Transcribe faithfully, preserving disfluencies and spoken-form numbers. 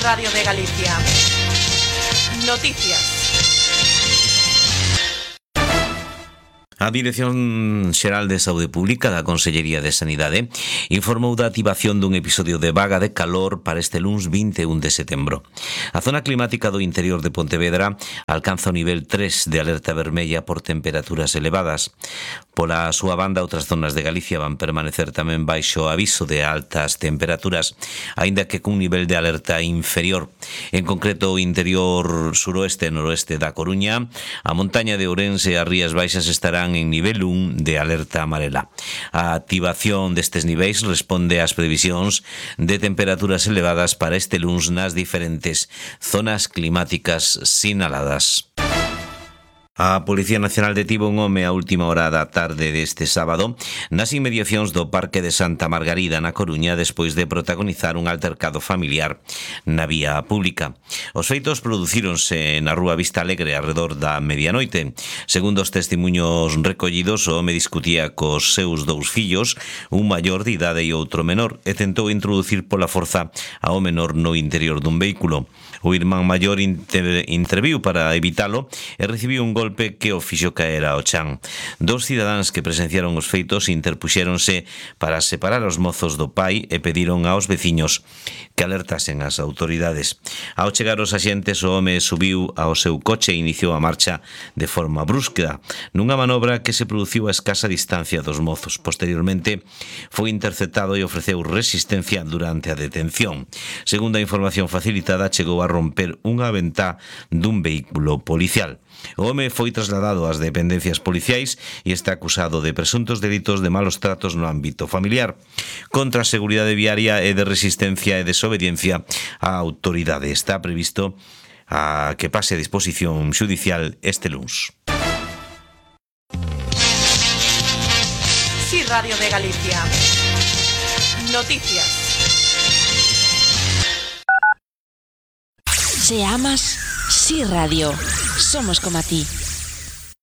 Radio de Galicia. Noticias. A Dirección Xeral de Saúde Pública da Consellería de Sanidade informou da activación dun episodio de vaga de calor para este luns vinte e un de setembro. A zona climática do interior de Pontevedra alcanza o nivel tres de alerta vermella por temperaturas elevadas. Pola súa banda, outras zonas de Galicia van permanecer tamén baixo aviso de altas temperaturas, aínda que cun nivel de alerta inferior. En concreto, o interior suroeste e noroeste da Coruña, a montaña de Ourense e as Rías Baixas estarán en nivel un de alerta amarela. A activación destes niveis responde ás previsións de temperaturas elevadas para este luns nas diferentes zonas climáticas sinaladas. A Policía Nacional detivo un home a última hora da tarde deste sábado nas inmediacións do Parque de Santa Margarida na Coruña despois de protagonizar un altercado familiar na vía pública. Os feitos producíronse na rúa Vista Alegre arredor da medianoite. Segundo os testemunhos recollidos, o home discutía cos seus dous fillos, un maior de idade e outro menor, e tentou introducir pola forza ao menor no interior dun vehículo. O irmán maior inter interviu para evitalo e recibiu un golpe que o fixo caer ao chan. Dos cidadáns que presenciaron os feitos interpuxéronse para separar os mozos do pai e pediron aos veciños que alertasen as autoridades. Ao chegar os axentes, o home subiu ao seu coche e iniciou a marcha de forma brusca, nunha manobra que se produciu a escasa distancia dos mozos. Posteriormente, foi interceptado e ofreceu resistencia durante a detención. Segundo a información facilitada, chegou a romper unha ventá dun vehículo policial. O home foi trasladado ás dependencias policiais e está acusado de presuntos delitos de malos tratos no ámbito familiar, contra a seguridade viaria e de resistencia e desobediencia á autoridade. Está previsto a que pase a disposición xudicial este luns. Sí, Radio de Galicia. Noticias. Si amas, Sí Radio. Somos como a ti.